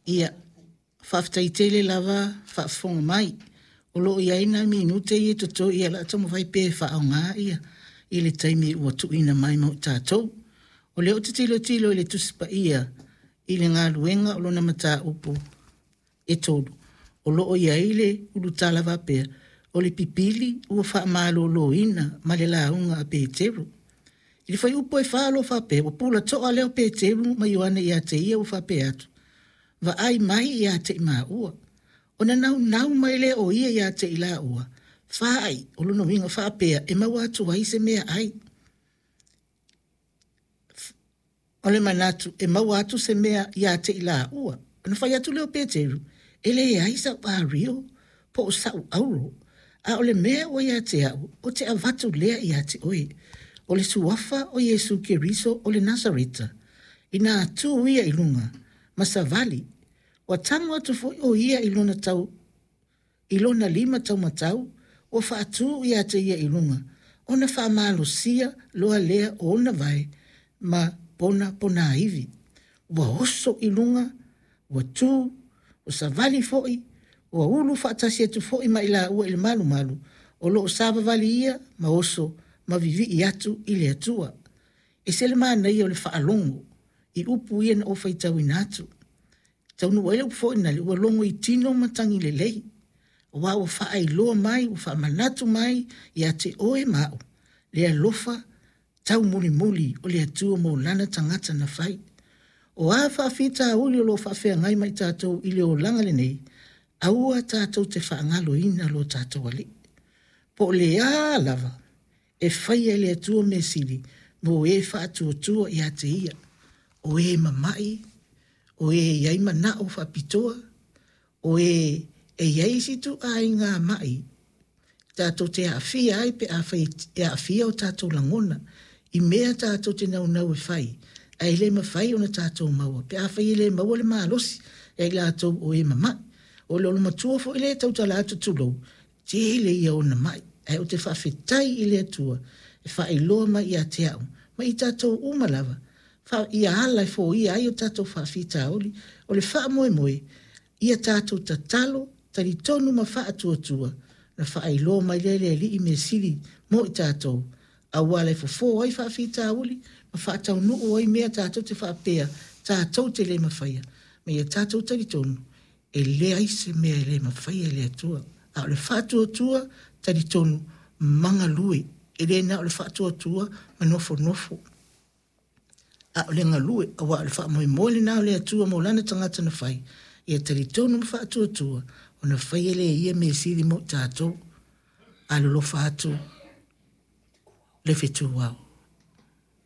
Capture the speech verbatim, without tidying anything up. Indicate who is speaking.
Speaker 1: Ia, faafetai tele lava faafofoga mai. O lo o i ai nai minute ia e totoe, ia o le a taumafai pea e faaaoga ia i le taimi ua tuuina mai mo i tatou. O lea ou te tilotilo i le Tusi Paia i le galuega o lona mataupu e tolu, o lo o i ai le ulutala faapea, o le pipili ua faamaloloina ma le lauga a Peteru. I le fuaiupu e fa o lo o faapea, ua pula toa lea o Peteru ma Ioane ia te ia ua faapea atu, vaai mai ia te i maua. Ona naunau mai lea o ia ia te i laua, faai, o lona uiga faapea e maua atu ai se meaai. O le manatu e maua atu se mea ia te i laua. Ona fai atu lea o Peteru, e leai sau ario po o sau auro, a o le mea ua ia te au, ou te avatu lea ia te oe. O le suafa o Iesu Keriso o le Nasareta, ina tu ia i luga ma savali, ua tago atu foi o ia i lona tau i lona lima taumatau ua faatū ia te ia i luga, ona faamalosia loa lea o ona vae ma pona ponaivi. Ua oso i luga, ua tū, ua savali foi, ua ulu faatasi atu foi ma i laua i le malumalu, o lo o savavali ia ma oso ma vivii atu i le Atua. E ese le manaia o le faalogo i upu ia na ou faitauina atu. Taunuu ai le upu foi lena, ua logo i tino matagi lelei, aua ua faailoa mai, ua faamanatu mai ia te oe ma au, le alofa taumulimuli o le Atua mo lana tagata na fai. O a faafitauli o lo o faafeagai ma i tatou i le olaga lenei, aua tatou te faagaloina lo tatou Alii. Po o le a lava e faia e le Atua mea sili mo e faatuatua ia te ia, o e mamai, o e i ai manao faapitoa, o e e i ai isi ituaiga mai tatou te aafia ai pe afai e aafia o tatou lagona i mea tatou te naunau e fai, ae le mafai ona tatou maua pe afai e le maua le malosi ia i latou o e mamai. O le olomatua foi lea e tautala atu tulou, tele ia ona mai, ae ou te faafetai i le Atua e faailoa mai ia te au ma i tatou uma lava, fa, ia ala e foia ai o tatou faafitauli. O le faamoemoe, ia tatou tatalo, talitonu ma faatuatua, na faailoa mai lea e le Alii mea sili mo i tatou, auala e fofo ai faafitauli ma faataunuu ai mea tatou te faapea tatou te le mafaia, ma ia tatou talitonu e leai se mea e le mafaia e le Atua. A o le faatuatua, talitonu, magalue, e le na o le faatuatua ma nofonofo, a o le galue, aua o le faamoemoe lena o le Atua mo lana tagata na fai, ia talitonu ma faatuatua, ona faia lea e ia mea sili mo i tatou. Alolofa atu le fetu ao.